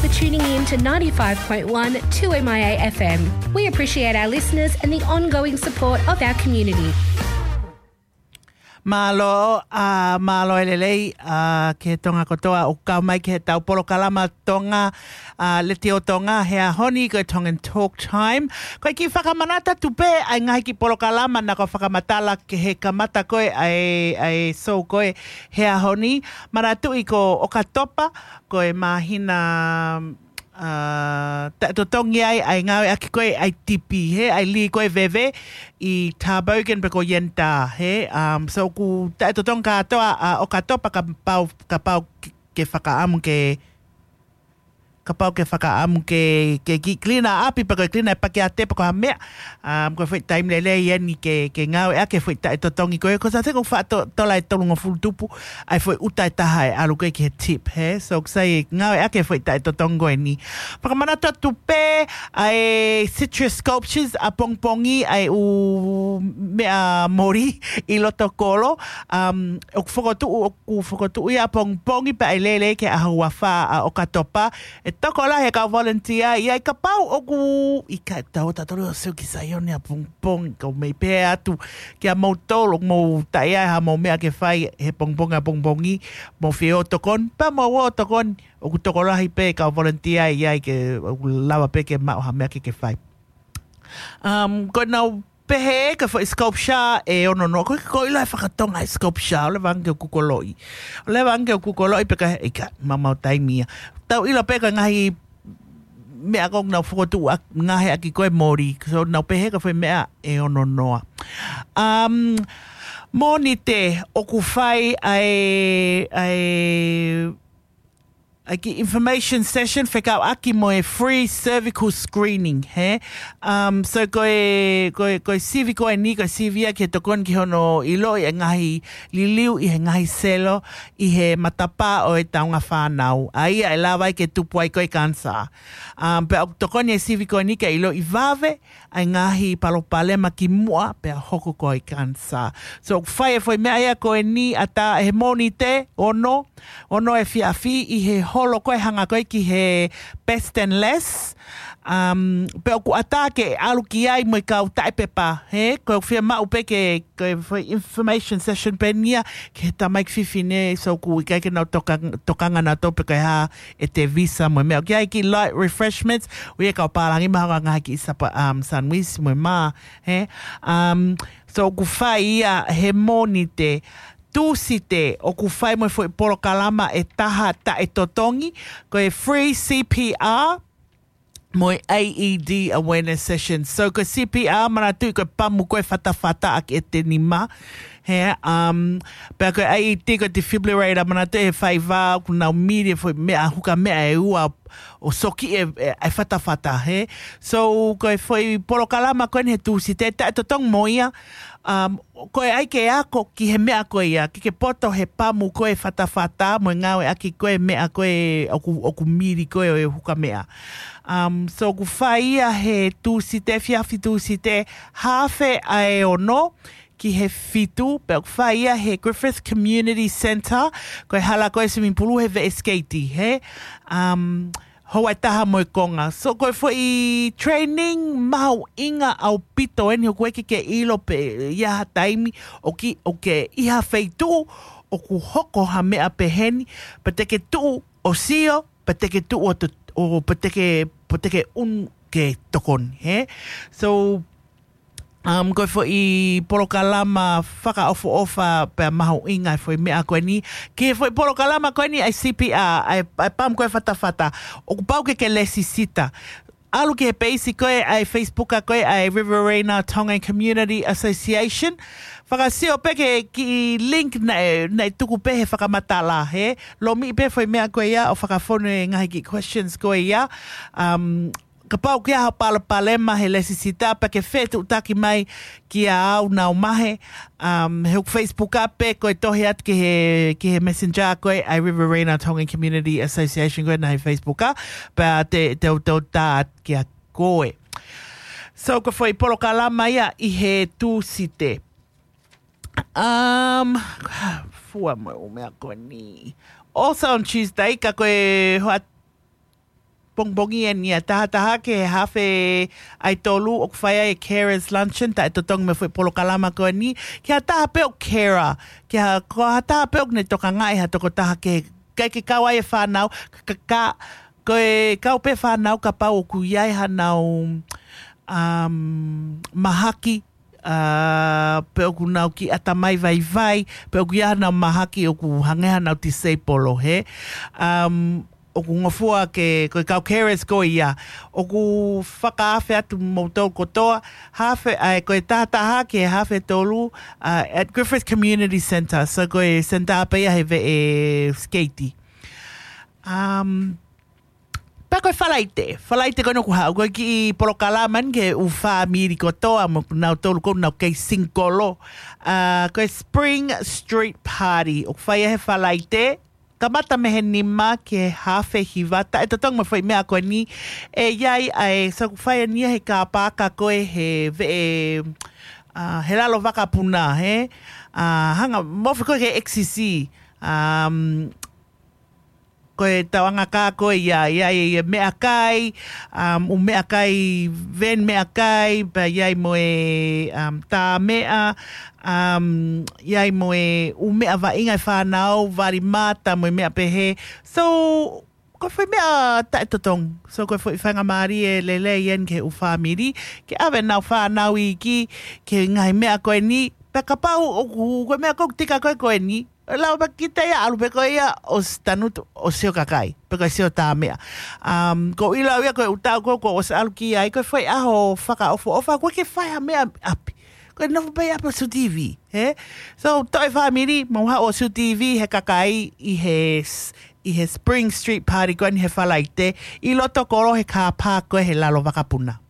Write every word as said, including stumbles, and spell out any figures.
for tuning in to ninety-five point one two M I A F M. We appreciate our listeners and the ongoing support of our community. Mālō, ā, mālō e lelei, ā, ki he Tonga kotoa ʻoku kau mai ki heʻetau polokalama Tonga, ā, Letiō Tonga he ʻaho ni, ko e Tongan Talk Time. Ko e kiʻi fakamanatu atu pē ʻa e ngaahi kiʻi polokalama naʻa ku fakamatala ki he kamata ko ē ʻa e, ʻa e show ko ē he ʻaho ni. Manatuʻi ko ʻOkatopa, ko e māhina, ā, taʻetotongi ai ʻa e ngāueʻaki ko ē ʻa e tipi, hē, ʻa e lī ko ē veve ʻi Tarbogen pe ko Yentau, hē. Um, so ʻoku taʻetotongi kātoa ʻa ʻOkatopa, kapau, kapau ke, ke fakaʻamu ke, kapau ke fakaʻamu ke, ke kiʻi clean ʻapi pe ko e clean ʻa e pakeate pe ko ha meʻa. Um, ko e foʻi taimi lelei eni ke, ke ngāueʻaki e foʻi taʻetotongi ko ē. Ko sa te ko fa to, tola e tolungofulu tupu ʻa e foʻi ʻuta ʻe taha ʻe ʻalu ko ē ki he tip, hē. So ʻoku sai ngāueʻaki e foʻi taʻetotongi ko eni. Fakamanatu atu pē ʻa e citrus sculptures ʻapongipongi, ʻa e ʻū meʻa moli ʻi loto kolo. Um, ʻoku fokotuʻu, ʻoku fokotuʻu ia ʻapongipongi pea ʻe lele ki he ʻaho uafā ʻa ʻOkatopa. ʻE tokolahi e kau volunteer ia, ʻi ai kapau ʻoku ʻikai tau tatolo o seu ki Saione ʻapongipongi, kau mei pē atu kia moutolu ʻoku mou taʻe ai haʻamou meʻa ke fai he pongipongi ʻapongipongi, mou fie ō ʻo tokoni, pea mou ō ʻo tokoni, ʻoku tokolahi pē kau volunteer ia ʻi ai ke, ʻoku lava pē ke maʻu ha meʻa ke ke fai. Um, ko ʻenau pehē ko e foʻi sculpture ʻe ono noa, ko e, ko e ʻilo e fakatonga e sculpture, ʻoku lava ange ke u kukoloʻi. ʻOku lava ange ke u kukoloʻi pe ka ʻikai, maumau taimi ia. Tau ʻilo pē ko e ngaahi meʻa ko ē ʻoku nau fokotuʻu ʻa, ngaahi ʻaki ko ē moli. So nau pehē ko e foʻi meʻa ʻe ono noa. Um, Mōnite ʻoku fai ʻa e, ʻa e, ʻa e kiʻi information session fekauʻaki mo e free cervical screening, hē? Um, so ko e, ko e, ko e sivi ko eni, ko e sivi ia ke tokoni ki hono ʻiloʻi e ngaahi liliu ʻi he ngaahi selo ʻi he matapā ʻo e taunga fānau. ʻA ia ʻe lava ai ke tupu ai ko ē kanisā. Um, pea ʻoku tokoni e sivi ko eni ke ʻiloʻi vave ʻa e ngaahi palopalema kimuʻa pea hoko ko ē kanisā. So ʻoku fai e foʻi meʻa ia ko eni ʻatā he Mōnite, ono, ono efiafi ʻi he holo ko ē hanga ko ē ki he Bestenless. Um, pea ʻoku ʻatā ke ʻalu ki ai mo e kau taʻepepa, hē? Ko e fiemaʻu pē ke, ko e foʻi information session pē eni ia ki he tamaiki fefine, so ʻoku ʻikai ke nau toka, tokanga nautolu pe ko e hā ʻete visa mo e meʻa. ʻOku ʻi ai e kiʻi light refreshments, ʻoku ʻi ai e kau pālangi mo e ngaahi kiʻi sapa, um, sandwich mo e mā, hē? Um, so ʻoku fai ia he Mōnite. Tūsite ʻoku fai mo e foʻi polokalama ʻe taha taʻetotongi, ko e free C P R mo e I E D awareness session. So ko e C P R, manatuʻi ko e pamu ko ē fatafata ʻaki ʻete nima, hē? Um, pea ko e I E D ko e defibrillator, manatuʻi he faiva ʻoku nau mili e foʻi meʻa, huka meʻa ʻe ua ʻo soki e, e, e fatafata, hē? So ko e foʻi polokalama ko eni he Tūsite, taʻetotongi mo ia, um, ko e ʻai ke ako ki he meʻa ko ia, ke ke poto he pamu ko ē fatafata mo e ngāueʻaki ko ē meʻa ko ē ʻoku, ʻoku mili ko ē ʻo e huka meʻa. Um, so ʻoku fai ia he Tūsite, efiafi Tūsite, haafe ʻa e ono ki he fitu, pea ʻoku fai ia he Griffith Community Centre, ko e hala ko ē swimming pool he veʻe sikeiti, hē? Um, houa ʻe taha mo e konga. So ko e foʻi training mahuʻinga ʻaupito eni, ʻoku ʻikai ke ke ʻilo pe ʻi ha taimi ʻoku ke, ʻoku ke ʻi ha feituʻu ʻoku hoko ha meʻa peheni, pe te ke tuʻu ʻo sio, pe te ke tuʻu ʻo to-, ʻo pe te ke, pe te ke unu ke tokoni, hē? So, um, ko e foʻi polokalama fakaʻofoʻofa pea mahuʻinga e foʻi meʻa ko eni. Ki he foʻi polokalama ko eni ʻa e C P R, ʻa e, ʻa e pamu ko ē fatafata, ʻoku pau ke ke lēsisita. ʻAlu ki he peisi ko ē ʻa e Facebook ko ē ʻa e Riverina Tongan Community Association. Fakasio pē ki he kiʻi link naʻe, naʻe tuku pē he fakamatala, hē? Lomiʻi pē foʻi meʻa ko ia ʻo fakafonu e ngaahi kiʻi questions ko ia. Um, kapau ʻoku ʻi ai ha palopalema he lēsisita, pea ke fetuʻutaki mai kia au, Nau Mahe, um, he ʻoku Facebook pē ko e tohi atu ki he, ki he messenger ko ē ʻa e Riverina Tongan Community Association ko ē naʻe he Facebook, pea te, te u, te u tā atu kia koe. So ko e foʻi polokalama ia ʻi he Tūsite. Um, fua mo e ʻū meʻa ko eni. Also on Tuesday, ka ko e hoa-, pongipongi eni ʻa tahataha ki he hafe ʻa e tolu ʻoku fai ai e Carers Luncheon, taʻetotongi mo e foʻi polokalama ko eni, ki ha taha pē ʻoku care, ki ha, ko ha taha pē ʻoku ne tokangaʻi ha tokotaha ke, ʻikai ke kau ai e fānau, ka, ka, ka, ko e kau pē fānau kapau ʻoku ʻi ai haʻanau, um, mahaki, ʻa, pe ʻoku nau kiʻi ʻatamai vaivai, pe ʻoku ʻi ai haʻanau mahaki ʻoku hangē haʻanau tiseipolo, hē. Um, ʻoku ngofua ke, ko e kau carers ko ia, ʻoku fakaafe atu moutolu kotoa, hafe, ʻa, ko e tahataha ki he hafe tolu, ʻa, at Griffith Community Centre, so ko e senitā pē ia he veʻe sikeiti. Um, Pea ko e Falaite, Falaite ko ena ʻoku haʻu, ko e kiʻi polokalama eni ki he ʻū fāmili kotoa mo nautolu ʻoku nau kei singikolo. ʻA, ko e Spring Street Party, ʻoku fai ia he Falaite, kamata mei he nima ki he hafe hiva, taʻetotongi mo e foʻi meʻa ko eni, ʻe ʻi ai ʻa e, so ʻoku fai eni ia he car park ko ē he veʻe, ʻa, he lalo vakapuna, hē. ʻA, hanga, mofi ko ē ki he X C C. Um, ko e tauʻanga kā ko ia, ʻi ai e meʻakai, um, ʻū meʻakai, van meʻakai, pea ʻi ai mo e, um, tā meʻa, um, ʻi ai mo e ʻū meʻa vaʻinga e fānau, vali mata mo e meʻa pehē. So, ko e foʻi meʻa taʻetotongi. So, ko e foʻi faingamālie lelei eni ki he ʻū fāmili, ke ʻave ʻenau fānau iiki ki he ngaahi meʻa ko eni, pea kapau ʻoku, ko e meʻa ʻoku tika ko ē ko eni, lau pē kita ia ʻalu pē ko ia ʻo sio tanutu, ʻo sio kakai, pe ko e sio tā meʻa. Um, ʻoku ou ʻilo au ia ko e ʻū taʻu ko ē kuo ʻosi ʻalu ki ai, ko e foʻi ʻaho fakaʻofoʻofa, ʻoku ʻikai ke fai ha meʻa ʻapi. Ko e nofo pē ʻi ʻapi ʻo sio T V, hē? So, toe fāmili, mou haʻu ʻo sio T V he kakai ʻi he s-, ʻi he Spring Street Party ko eni he Falaite, ʻi loto kolo he car park ko ē he lalo vakapuna.